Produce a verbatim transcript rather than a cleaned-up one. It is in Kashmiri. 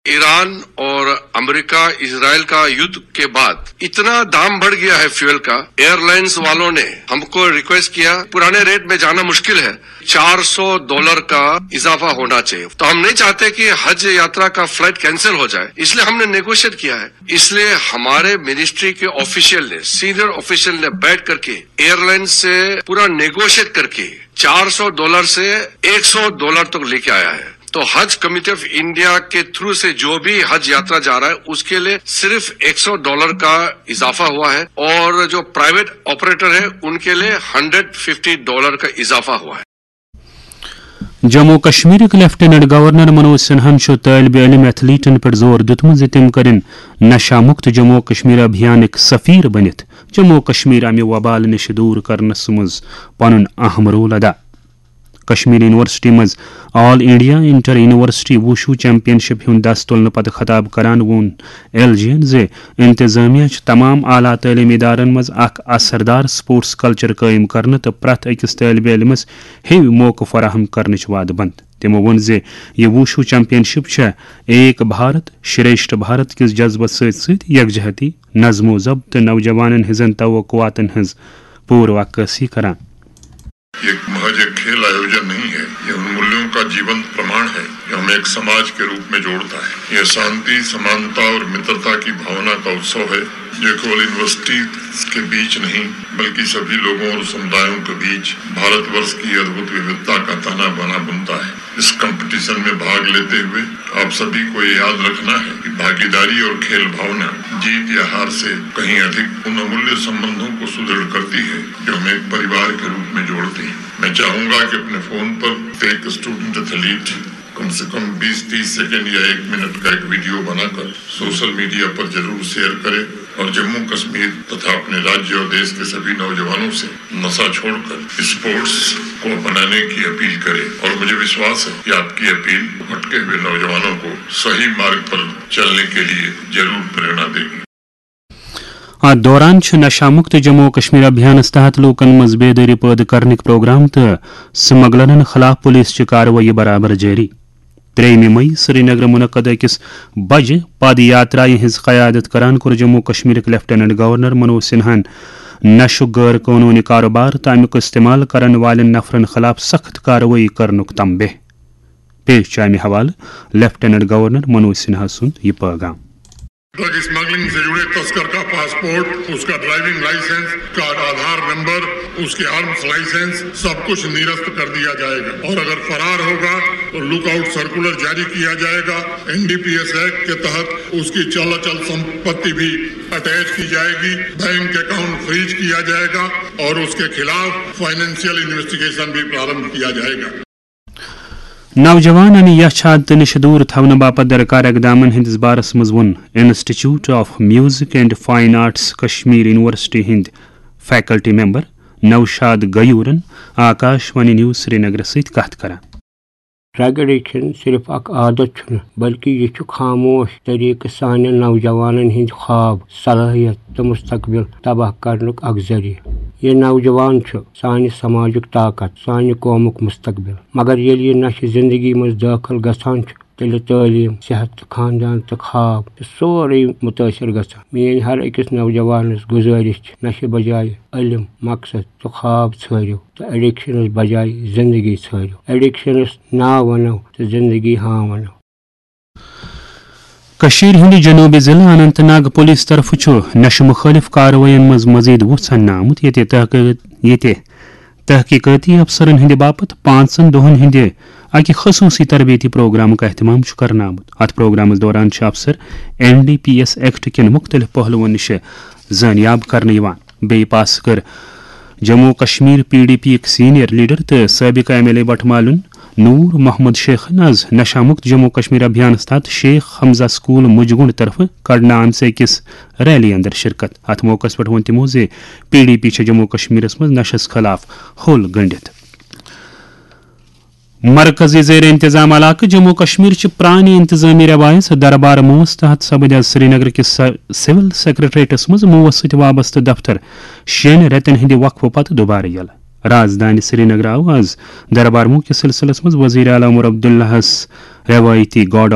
ईरान और अमेरिका इसराइल का युद्ध के बाद इतना दाम बढ़ गया है फ्यूल का। एयरलाइंस वालों ने हमको रिक्वेस्ट किया, पुराने रेट में जाना मुश्किल है, चार सौ डॉलर का इजाफा होना चाहिए। तो हम नहीं चाहते कि हज यात्रा का फ्लाइट कैंसिल हो जाए, इसलिए हमने नेगोशिएट किया है। इसलिए हमारे मिनिस्ट्री के ऑफिशियल ने, सीनियर ऑफिशियल ने बैठ करके एयरलाइन से पूरा नेगोशिएट करके चार सौ डॉलर से एक सौ डॉलर तक लेके आया है। तो हज कमेटी ऑफ इंडिया के थ्रू से जो भी हज यात्रा जा रहा है, उसके लिए सिर्फ एक सौ डॉलर का इजाफा हुआ है और जो प्राइवेट ऑपरेटर है, उनके लिए हंड्रेड फिफ्टी डॉलर का इजाफा हुआ है। جموں کشمیرٕکۍ لیفٹیننٹ گورنر منوج سنہاہن چھُ طٲلبہِ علم ایتھلیٹن پٮ۪ٹھ زور دیُتمُت زِ تِم کٔرِن نشہ مکت جموں کشمیر ابھیانٕکۍ سفیر بٔنِتھ جموں کشمیر امہِ وبال نِش دوٗر کرنس منٛز پنُن اہم رول ادا۔ کشمیر یونیورسٹی منٛز آل انڈیا انٹر یونیورسٹی وُشو چیمپین شپ ہُنٛد دس تُلنہٕ پتہٕ خطاب کران ووٚن ایل جی ین زِ انتظامیہ چھُ تمام اعلیٰ تعلیمی ادارن منٛز اکھ اثردار سپورٹس کلچر قٲیِم کرنہٕ تہٕ پرٛٮ۪تھ أکِس طٲلبہِ علمس ہیوۍ موقعہٕ فراہم کرنٕچ وعدٕ بنٛد۔ تِمو ووٚن زِ یہِ وُشو چیمپین شپ چھےٚ ایک بھارت شریشٹھ بھارت کِس جذبس سۭتۍ سۭتۍ یکجہتی، نظم و ضبط تہٕ نوجوانن ہٕنٛزن توقعاتن ہٕنٛز پوٗرٕ عکٲسی کران۔ یہ محض ایک کھیل آیوجن نہیں ہے، یہ ان مولوں کا جیونت پرماڑ ہے جو ہمیں ایک سماج کے روپ میں جوڑتا ہے۔ یہ شانتی، سمانتا اور مترتا کی بھاونا کا اتسو ہے جو کیول یونیورسٹی کے بیچ نہیں بلکہ سبھی لوگوں اور سمدایوں کے بیچ بھارت ورش کی ادبھت ووھتا کا تانا بانا بنتا ہے۔ اس کمپٹیشن میں بھاگ لیتے ہوئے آپ سبھی کو یہ یاد رکھنا ہے کہ بھاگیداری اور کھیل بھاونا جیت یا ہار سے کہیں ادھک ان امولیہ سمبندھوں کو سدھڑ کرتی ہے جو ہمیں ایک پریوار کے روپ میں جوڑتی ہے۔ میں چاہوں گا کہ اپنے فون پر ایک اسٹوڈنٹ ایتھلیٹ کم سے کم بیس تیس سیکنڈ یا ایک منٹ کا ایک ویڈیو بنا کر سوشل میڈیا پر ضرور شیئر کرے اور جموں کشمیر تتھا اپنے راجیہ اور دیش کے سبھی نوجوانوں سے نشہ چھوڑ کر اسپورٹس کو اپنانے کی اپیل کرے اور مجھے وشواس ہے کہ آپ کی اپیل بھٹکے ہوئے نوجوانوں کو صحیح مارگ پر چلنے کے لیے ضرور پریرنا دے گی۔ اتھ دوران چھِ نشہ مکت جموں و کشمیر ابھیانس تحت لوٗکن منٛز بیدٲری پٲدٕ کرنٕکۍ پروگرام تہٕ سمگلرن خلاف پولیس چہِ کاروٲیی برابر جٲری۔ ترٛیٚیِمہِ مئی سرینگرٕ منعقد أکِس بجہِ پد یاترایہِ ہٕنٛز قیادت کران کوٚر جموں و کشمیرٕکۍ لیفٹیننٹ گورنر منوج سنہاہن نشُک غٲر قونوٗنی کاروبار تہٕ امیُک استعمال کرن والٮ۪ن نفرن خلاف سخت کاروٲیی کرنُک تنبیہ۔ پیش چھُ امہِ حوالہٕ لیفٹیننٹ گورنر منوج سنہا سُنٛد یہِ پٲغام۔ ڈرگ اسمگلنگ سے جڑے تسکر کا پاسپورٹ، اس کا ڈرائیونگ لائسنس، اس کا آدھار نمبر، اس کے آرمز لائسنس، سب کچھ نرست کر دیا جائے گا اور اگر فرار ہوگا تو لک آؤٹ سرکولر جاری کیا جائے گا۔ N D P S act کے تحت اس کی چل اچل سمپتی بھی اٹیچ کی جائے گی، بینک اکاؤنٹ فریز کیا جائے گا اور اس کے خلاف فائنینشیل انویسٹیگیشن بھی پرارمبھ کیا جائے گا۔ نوجوانن یچھ عادتہٕ نِش دوٗر تھاونہٕ باپتھ درکار اقدامن ہٕنٛدِس بارس منٛز ووٚن institute of music and fine arts Kashmir university ہٕنٛدۍ فیکلٹی ممبر نوشاد غیورن آکاش وانی نیوز سرینگرس سۭتۍ کتھ کران۔ ڈرگ ایڈکشن صرف اکھ عادت چھُنہٕ، بلکہ یہِ چھُ خاموش طریقہٕ سانٮ۪ن نوجوانن ہٕنٛدۍ خواب، صلٲحیت تہٕ مستقبل تباہ کرنُک اکھ ذٔریعہٕ۔ یہِ نوجوان چھُ سانہِ سماجُک طاقت، سانہِ قومُک مستقبل۔ مگر ییٚلہِ یہِ نشہِ زندگی منٛز دٲخل گژھان چھُ، تیٚلہِ تعلیٖم، صحت تہٕ خاندان تہٕ خواب چھُ سورُے مُتٲثر گژھان۔ میٲنۍ ہر أکِس نوجوانس گُزٲرِش چھِ، نشہِ بجایہِ علم، مقصد تہٕ خواب ژھٲرِو تہٕ ایڈکشنس بجایہِ زندگی ژھٲرِو۔ ایڈکشنس نا ونو تہٕ زندگی ہاں ونو۔ کٔشیٖرِ ہٕنٛدِ جنوٗبی ضلعہٕ اننت ناگ پُلیٖس طرفہٕ چھُ نشہٕ مُخٲلِف کاروٲیین منٛز مزید وُژھ اننہٕ آمُت، ییٚتہِ تحقیق-، ییٚتہِ تحقیقٲتی افسرن ہٕنٛدِ باپتھ پانٛژن دۄہن ہٕنٛدِ اکہِ خصوٗصی تربیتی پروگرامُک اہتمام چھُ کرنہٕ آمُت۔ اتھ پروگرامس دوران چھِ افسر N D P S act کٮ۪ن مُختٔلِف پہلوَن نِش زٲنیاب کرنہٕ یِوان۔ بیٚیہِ پاس کٔر Jammu Kashmir P D P یِکۍ سینئر لیڈر تہٕ سٲبقہٕ ایم ایل اے بٹھ مالُن نور محمد شیخن آز نشہ مکت جموں کشمیر ابھیانس تحت شیخ حمزہ سکول مجگنڈ طرفہٕ کڑنہٕ آمژِ أکِس ریلی اندر شرکت۔ اتھ موقعس پٮ۪ٹھ ووٚن تِمو زِ پی ڈی پی چھےٚ جموں کشمیرس منٛز نشس خلاف ہوٚل گٔنڈِتھ۔ مرکزی زیر انتظام علاقہٕ جموں کشمیر چہِ پرانہِ انتظامی روایژ دربار موس تحت سپٕدۍ آز سرینگر کِس س-، سول سیکرٹریٹس منٛز موس سۭتۍ وابستہٕ دفتر شیٚن رٮ۪تن ہٕنٛدِ وقفہٕ پتہٕ دوبارٕ یلہٕ۔ رازدانہِ سرینگر آو آز دربار موس کِس سلسلس منٛز وزیر اعلیٰ عمر عبداللہس روایتی گاڈ آف